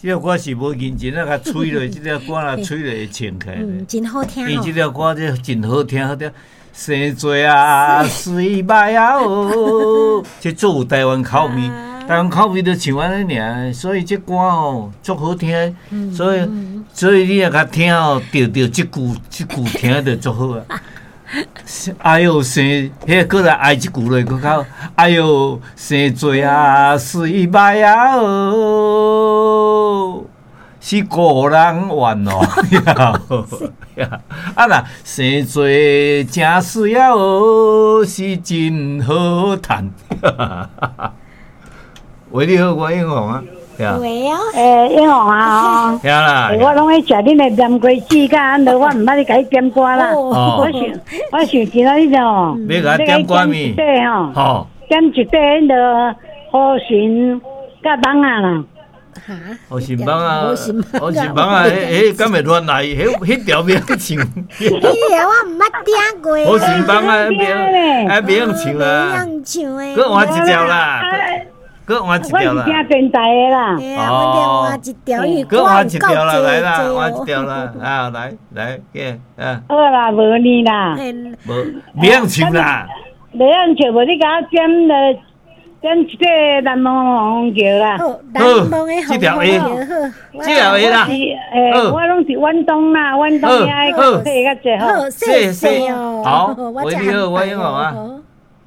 這條歌是無認真啊，共吹落，這條歌若吹落會穿起來。嗯，真好聽。伊這條歌這真好聽，好聽。生做啊，水歹啊哦，這足有台灣口味，台灣口味就唱按呢爾，所以這歌吼足好聽。所以你若共聽吼，著著這句這句聽著足好啊。哎喲，生，彼個閣來哀一句落，閣較哎喲，生做啊，水歹啊哦，是孤人怨哦。啊若生做誠媠啊哦，是真好趁。喂，你好，我英雄啊。喂哦。欸，英雄啊，聽啦。我攏愛食恁的南瓜子，佮按囉，我毋捌你共你點歌啦。我想今仔日哦，欲共我點歌物？對吼。點一塊彼囉雨神佮蠓仔啦。哈？雨神蠓仔，雨神蠓仔，彼彼敢會亂來？彼彼條袂曉唱。彼條我毋捌聽過。雨神蠓仔，袂啊，袂曉唱啊。袂曉唱的。閣換一條啦。閣換一條啦。我是聽電台的啦。哦。換一條，因為閣換一條啦，來啦，換一條啦，啊，來來，給啊。好啦，無呢啦。無，袂曉唱啦。袂曉唱，無你共我點了。點一個難忘的虹橋啦。好，難忘的虹橋，好，這條會啦。欸，我攏是遠東啦，遠東遐個體較濟好。謝謝哦。好，喂，你好，我英雄啊。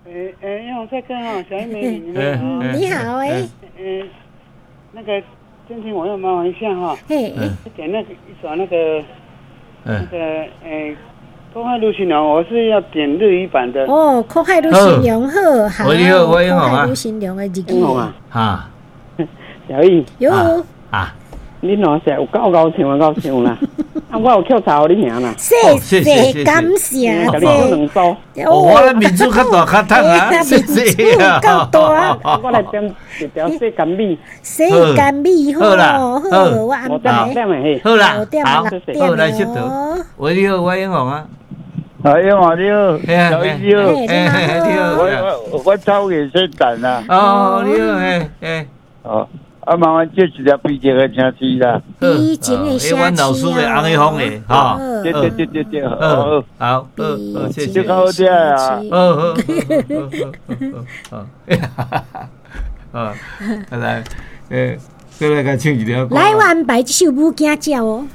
欸欸，英雄帥哥哦，小英美女，你們好。你好，欸。欸，那個今天我要麻煩一下哈。嘿。點那個一首那個，那個欸。苦海女神龍，我是要點日語版的。哦，苦海女神龍好，好。你好，我英雄啊。苦海女神龍的日語啊。哈。小易。喲。啊。你喏是有夠𠢕唱啊，𠢕唱啦！啊，我有扣查予你爾啦。謝謝，感謝。共你扣兩組。我的面子較大較趁啊，謝謝啊。夠大。我來點一條世間美。世間美好，好，我安排。好啦，好，好來佚佗。喂，你好，我英雄啊。啊，英雄你好，小易你好，你好，我走去洗蛋啦。哦，你好，嘿，嘿。哦。啊，麻煩借一條悲情的城市啦。悲情的城市。阮老師的紅一峰的，哈。對對對對對，好，好，好，謝謝。這較好聽啊。好好好好好，好，來，欸，再來共唱一條歌。來，我安排這首《母驚鳥》哦。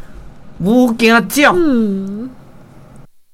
母驚鳥。嗯。